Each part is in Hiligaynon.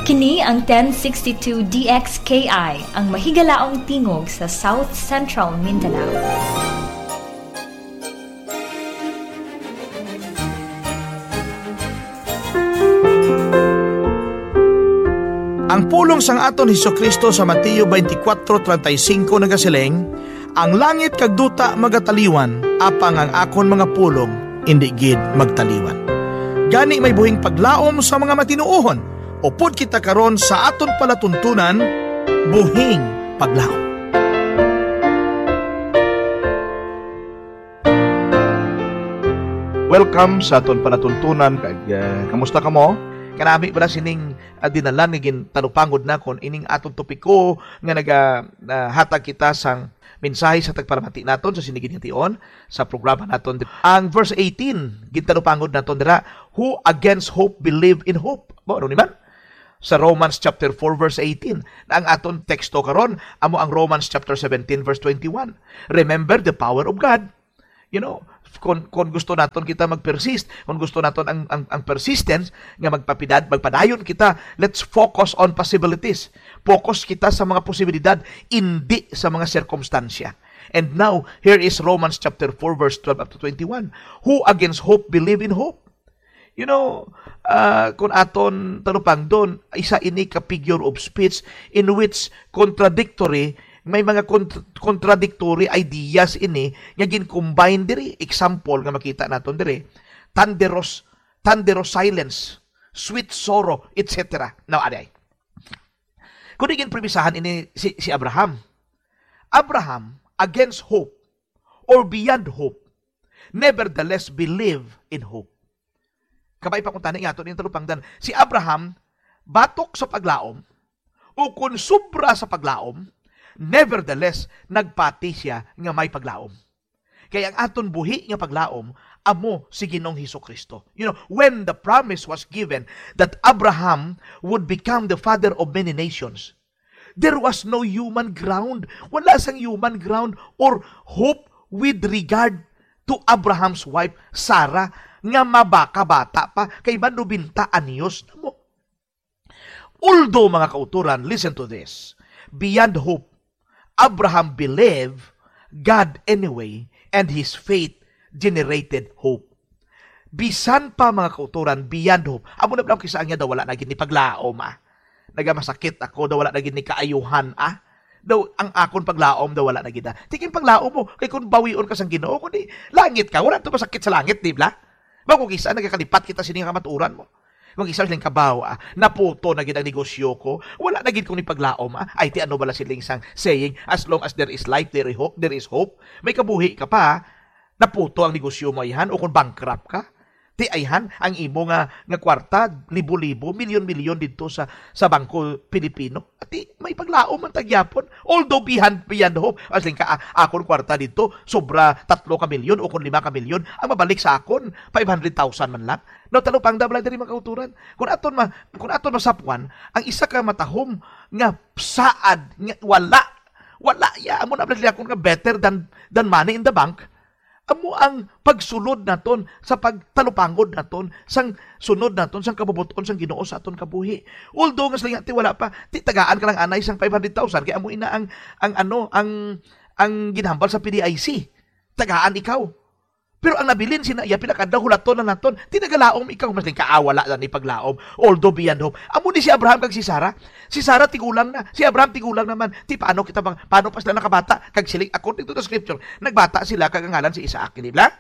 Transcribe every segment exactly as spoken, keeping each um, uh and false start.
Kini ang ten sixty-two D X K I, ang mahigalaong tingog sa South Central Mindanao. Ang pulong sang aton Jesu-Cristo sa Mateo twenty-four thirty-five nagasiling, "Ang langit kag duta magataliwan, apang ang akon mga pulong indi gid magtaliwan." Gani may buhing paglaom sa mga matinuohon, upod kita karon sa aton palatuntunan, buhing paglaom. Welcome sa aton palatuntunan. Kag, ah, kamusta kamo? Kanami bala sining, ah, dinalan nga gintalupangod nakon ining aton topiko nga naga, ah, hatag kita sang mensahe sa tagpalamati naton sa sini gid nga tion sa programa naton. Ang verse eighteen, gintalupangod naton dira, "Who against hope believe in hope?" Mo, ano ni man? Sa Romans chapter four verse eighteen. Na ang aton teksto karon amo ang Romans chapter seventeen verse twenty-one. Remember the power of God. You know, kung, kung gusto naton kita mag-persist, kung gusto naton ang, ang, ang persistence nga magpapidad, magpadayon kita, let's focus on possibilities. Focus kita sa mga posibilidad, hindi sa mga sirkumstansya. And now, here is Romans chapter four verse twelve up to twenty-one. "Who against hope believe in hope?" You know, ah, kung aton talupangdon, isa ini ka figure of speech in which contradictory, may mga cont-, contradictory ideas ini nga gin-combine diri. Example nga makita naton diri, thunderous, thunderous silence, sweet sorrow, et cetera. Now, aday. Kung gin-premisahan ini si, si Abraham, Abraham, against hope or beyond hope, nevertheless believe in hope. Kabay pa kung tani nga ato ning talupangdan. Si Abraham, batok sa paglaom, o kon sobra sa paglaom, nevertheless, nagpati siya nga may paglaom. Kay ang aton buhi nga paglaom, amo si Ginoong Hesus-Kristo. You know, when the promise was given that Abraham would become the father of many nations, there was no human ground. Wala sang human ground or hope with regard to Abraham's wife, Sarah, nga mabakabata pa, kay man nobenta anyos na mo. Although, mga kauturan, listen to this, beyond hope, Abraham believed God anyway, and his faith generated hope. Bisan pa, mga kauturan, beyond hope. Amo na lang kisa niya daw wala na gid ni paglaom, ah. Nagamasakit ako, daw wala na gid ni kaayuhan, ah. Daw ang akon paglaom daw wala na gid, ah. Ti king paglaom mo, kay kung bawion ka sang Ginoo, kundi langit ka, wala to masakit sa langit, di ba? Ba, kung kisa nagakalipat kita sini nga kamatuoran mo. Kung isa siling kabaw, ah, naputo na gid ang negosyo ko. Wala na gid ko ni paglaom, ah. Ay, ti ano bala siling sang saying, "As long as there is life, there is hope, there is hope." May kabuhi ka pa, ah. Naputo ang negosyo mo, ayhan, o kung bankrupt ka. Ti ayhan, ang imo nga, nga kwarta, libo-libo, milyon-milyon didto sa, sa Bangko Pilipino. Ti may paglaom man ta gyapon. Although beyond, beyond hope. As in ka, ah, akon kwarta didto, sobra tatlo ka milyon o kung lima ka milyon, ang mabalik sa akon, five hundred thousand man lang. No, talupangda bala diri, mga kauturan. Kung aton ma-, kung aton masapwan, ang isa ka matahom nga saad, nga wala, wala ya, amo na bala akon nga better than, than money in the bank. Amo ang pagsulod naton sa pagtalupangod naton sang sunod naton sang kabubot-on sang Ginoo sa aton kabuhi. Although nga sila ti wala pa, ti tagaan ka lang anay sang five hundred thousand, kay amo ina ang, ang ano, ang, ang ginhambal sa P D I C. Tagaan ikaw. Pero ang nabilin sina iya, pila ka adlaw, hulaton na naton. Ti nagalaom ikaw, mas ka, ah, wala na ni paglaom. Although beyond hope. Amo ni si Abraham kag si Sarah. Si Sarah tigulang na, si Abraham tigulang naman. Ti paano kita bang, paano pa sila nakabata? Kag siling, according to the scripture, nagbata sila kag ang ngalan si Isaac, di ba?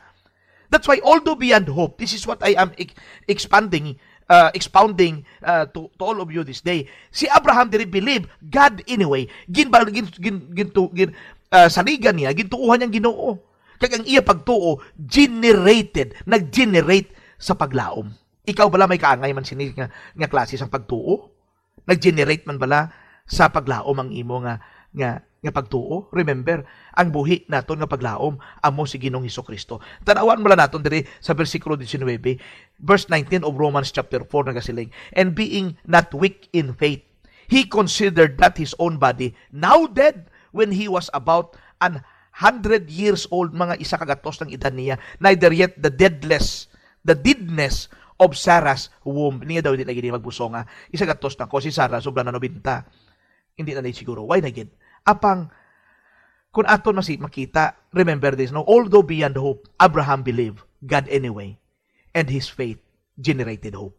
That's why, although beyond hope, this is what I am ex-, expanding, uh, expounding, uh, to, to all of you this day. Si Abraham diri believe God anyway. Gin, gin, gin, gin, gin, uh, saligan niya, gintuohan niyang Ginoo. Kag ang iya pagtuo generated, nag-generate sa paglaom. Ikaw bala may kaangay man sini nga, nga klase sang pagtuo? Nag-generate man bala sa paglaom ang imo nga, nga, nga pagtuo? Remember, ang buhi naton nga paglaom amo si Ginoong Hesus-Kristo. Tan-awan bala naton diri sa bersikulo diecinuebe, verse nineteen of Romans chapter four, nagasiling, "And being not weak in faith, he considered not his own body now dead when he was about an hundred years old," mga isa ka gatos ng edad niya, "neither yet the deadness, the deadness of Sarah's womb. Niya daw, hindi lagi niya magbusong, ah. Isa gatos na ko, si Sarah, sobra na nobenta. Hindi na ni siguro. Why na gid? Apang, kung aton masi-, makita, remember this, no? Although beyond hope, Abraham believed God anyway, and his faith generated hope.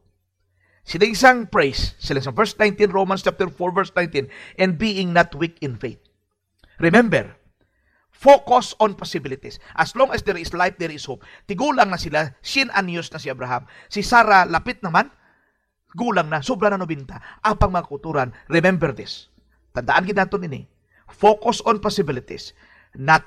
Siling sang praise, siling sang verse nineteen, Romans chapter four, verse nineteen, "And being not weak in faith." Remember, focus on possibilities. As long as there is life, there is hope. Tigulang na sila, cien anyos na si Abraham. Si Sarah, lapit naman, gulang na, sobra na nobenta. Apang mga kauturan, remember this. Tandaan gid naton ini. Focus on possibilities, not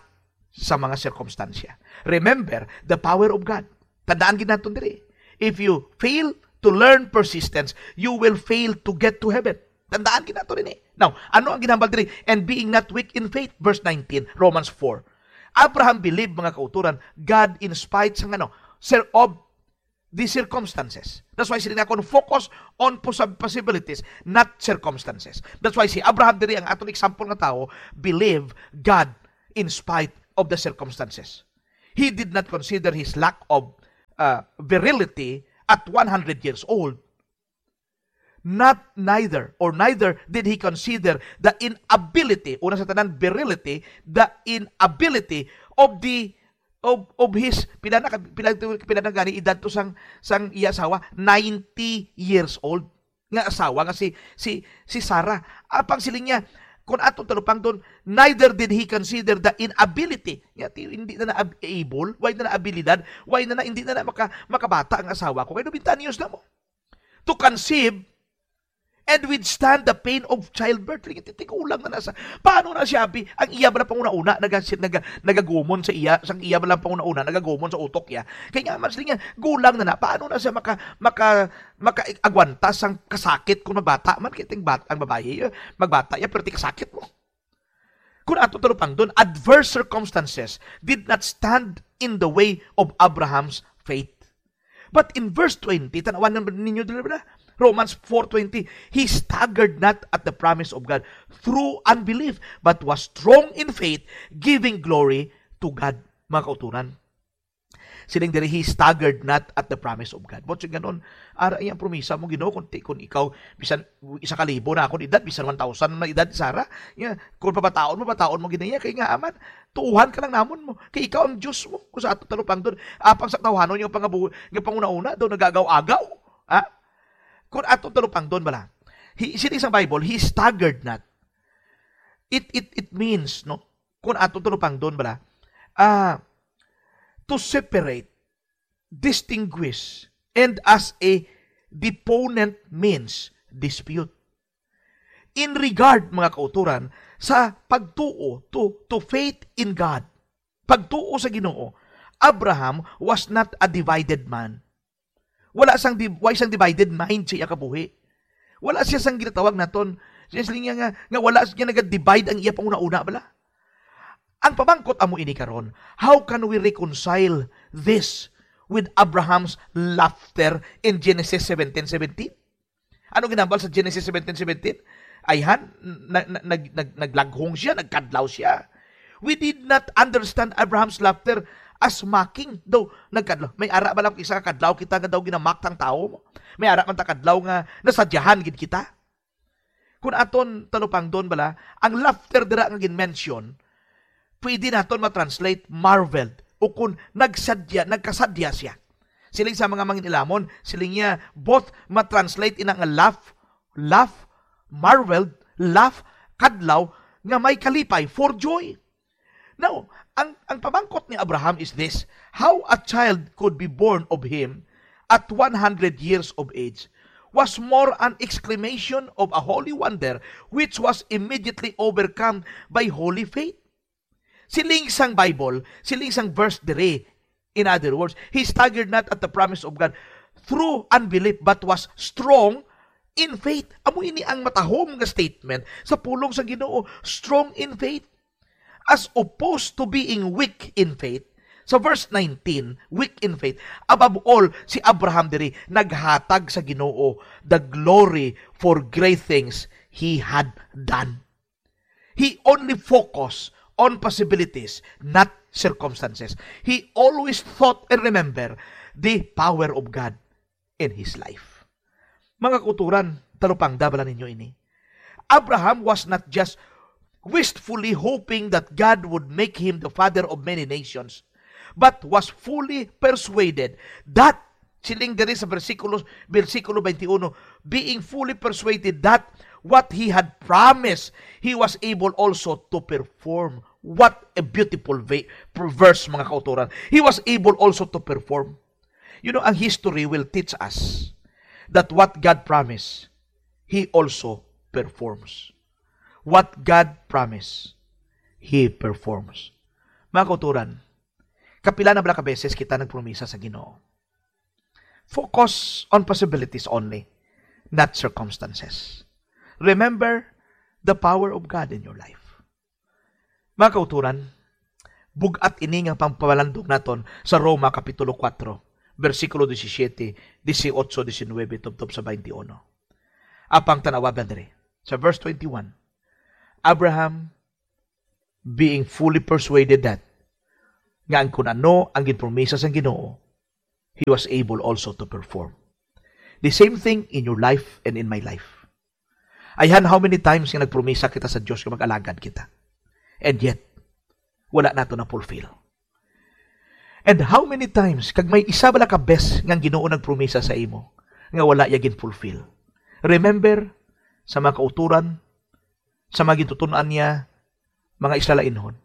sa mga sirkumstansya. Remember the power of God. Tandaan gid naton diri. If you fail to learn persistence, you will fail to get to heaven. Tandaan gid naton ini. Now, ano ang ginhambal diri? "And being not weak in faith," verse nineteen, Romans four. Abraham believed, mga kauturan, God in spite sang ano, sir, of the circumstances. That's why sila nakon, focus on posab-, possibilities, not circumstances. That's why si Abraham diri, ang aton example nga tawo, believe God in spite of the circumstances. He did not consider his lack of, uh, virility at one hundred years old. Not neither, or neither did he consider the inability, una sa tanan, virility, the inability of the, of, of his, pila na ka, pila, pila na gani edad to sang, sang iya asawa, ninety years old nga asawa nga si, si, si Sarah. Apang siling niya, kung atong talupangton, neither did he consider the inability. Nga, ti-, hindi na na ab-, able, wala na na abilidad, wala na na, hindi na na maka-, makabata ang asawa ko. Kay nobenta anyos na mo. To conceive and withstand the pain of childbirth. Lagi, tigulang na na sa, paano na siya, abi? Ang iya bala panguna-una, naga-, naga-, nagagumon sa iya, sang iya bala panguna-una, nagagumon sa utok iya. Kay nga, mas niya, gulang na na, paano na siya maka-, maka-, maka-agwanta sang kasakit kung magbata man? Kay ting bat-, ang babayi, eh, magbata iya, pero ti kasakit mo. Kung ato talupangdon, adverse circumstances did not stand in the way of Abraham's faith. But in verse twenty, tanawan na ninyo dili ba? Romans four twenty, "He staggered not at the promise of God through unbelief, but was strong in faith, giving glory to God." Mga kauturan. Siling diri, "He staggered not at the promise of God." But siya ganon, ara iyang promisa mo, Ginoo, kung ti-, kung ikaw, bisan isa ka libo na akong edad, bisan one thousand na edad, Sarah, ya, kung papataon mo, pataon mo, Ginoo, kay nga aman, tuuhan ka lang namon mo. Kay ikaw ang Diyos mo. Kung sa ato talupangdon, apang sa tawhanon yung pangabu-, yung panguna-una, daw nagagaw-agaw. Ha? Kung ato talupangdon, bala, he, siling sang Bible, "He staggered not." It, it, it means, no? Kung ato talupangdon, bala, ah, to separate, distinguish, and as a deponent means dispute. In regard, mga kauturan, sa pagtuo, to, to faith in God, pagtuo sa Ginoo, Abraham was not a divided man. Wala sang di-, wala sang divided mind sa iya kabuhi. Wala siya sang ginatawag naton. Siya siling niya nga, nga wala siya naga-divide ang iya panguna-una, bala. Ang pamangkot amo ini karon, how can we reconcile this with Abraham's laughter in Genesis seventeen seventeen? Ano ginambal sa Genesis seventeen seventeen? Ayhan, na, na, nag, nag, naglaghong siya, nagkadlaw siya. We did not understand Abraham's laughter as mocking. Daw, nagkadlaw. May ara ba lang isa ka kadlaw kita nga daw ginamak ang tawo? May ara man ta kadlaw nga nasadyahan gid kita? Kung aton talupangdon bala, ang laughter dira nga gin-mention, pwede naton ma-translate marveled, o kung nagsadya, nagkasadya siya. Siling sa mga mangin-ilamon, siling niya, both ma-translate ina nga laugh, laugh, marveled, laugh, kadlaw, nga may kalipay, for joy. Now, ang, ang pamangkot ni Abraham is this: how a child could be born of him at one hundred years of age was more an exclamation of a holy wonder, which was immediately overcome by holy faith. Siling sang Bible, siling sang verse diri, in other words, he staggered not at the promise of God through unbelief, but was strong in faith. Amo ini ang matahom nga statement sa pulong sa Ginoo, strong in faith. As opposed to being weak in faith, sa verse nineteen, weak in faith, above all, si Abraham diri naghatag sa Ginoo the glory for great things he had done. He only focused on possibilities, not circumstances. He always thought and remember the power of God. in his life. Mga kauturan, talupangda bala ninyo ini? Abraham was not just wistfully hoping that God would make him the father of many nations, but was fully persuaded that, siling diri sa bersikulo, bersikulo twenty-one, being fully persuaded that what he had promised, he was able also to perform. What a beautiful ve-, verse, mga kauturan. He was able also to perform. You know, ang history will teach us that what God promised, He also performs. What God promised, He performs. Mga kauturan, kapila na bala ka beses kita nagpromisa sa Ginoo? Focus on possibilities only, not circumstances. Remember the power of God in your life. Mga kauturan, bug-at ini nga pangpalandong naton sa Roma Kapitulo kuwatro, bersikulo disisyete, disiotso, disinuebe, tubtob sa twenty-one. Apang tan-awa bala diri, sa verse twenty-one, Abraham, being fully persuaded that, nga ang kun ano ang ginpromisa sang Ginoo, he was able also to perform. The same thing in your life and in my life. Ayhan, how many times nga nagpromisa kita sa Dios nga mag-alagad kita, and yet wala nato na-fulfill? And how many times, kag may isa bala ka bes nga ang Ginoo nagpromisa sa imo nga wala iya gin-fulfill? Remember sa mga kauturan, sa mga gintuton-an niya, mga Israelinhon.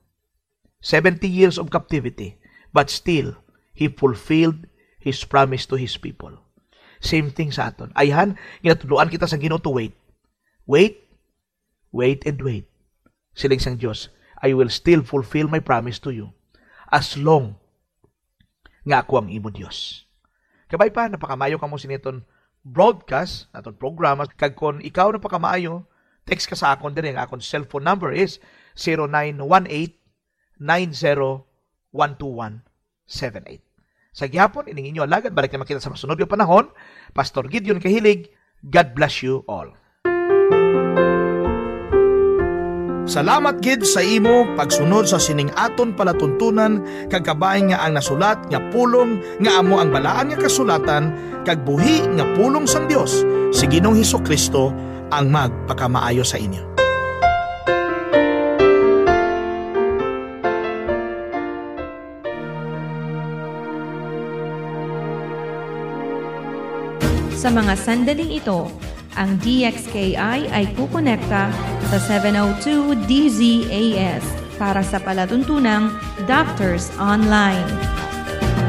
Seventy years of captivity, but still, He fulfilled His promise to His people. Same thing sa aton. Ayhan, ginatudloan kita sa Ginoo to wait. Wait, wait, and wait. Siling sang Dios, "I will still fulfill my promise to you as long nga ako ang imo Dios." Kabay pa, napakamayo kamo sini aton broadcast, aton programa. Kag kon ikaw napakamayo, text ka sa akon diri. Ang akon cellphone number is zero nine one eight nine zero one two one seven eight. Sa gihapon, ining inyo alagad, balik na man kita sa masunod nga panahon. Pastor Gideon Kahilig, God bless you all. Salamat gid sa imo pagsunod sa sining aton palatuntunan, kag kabay nga ang nasulat nga pulong nga amo ang Balaan nga Kasulatan kag buhi nga pulong sang Dios, si Ginoong Jesu-Cristo ang magpakamaayo sa inyo. Sa mga sandaling ito, ang D X K I ay kukonekta sa seven oh two D Z A S para sa palatuntunang Doctors Online.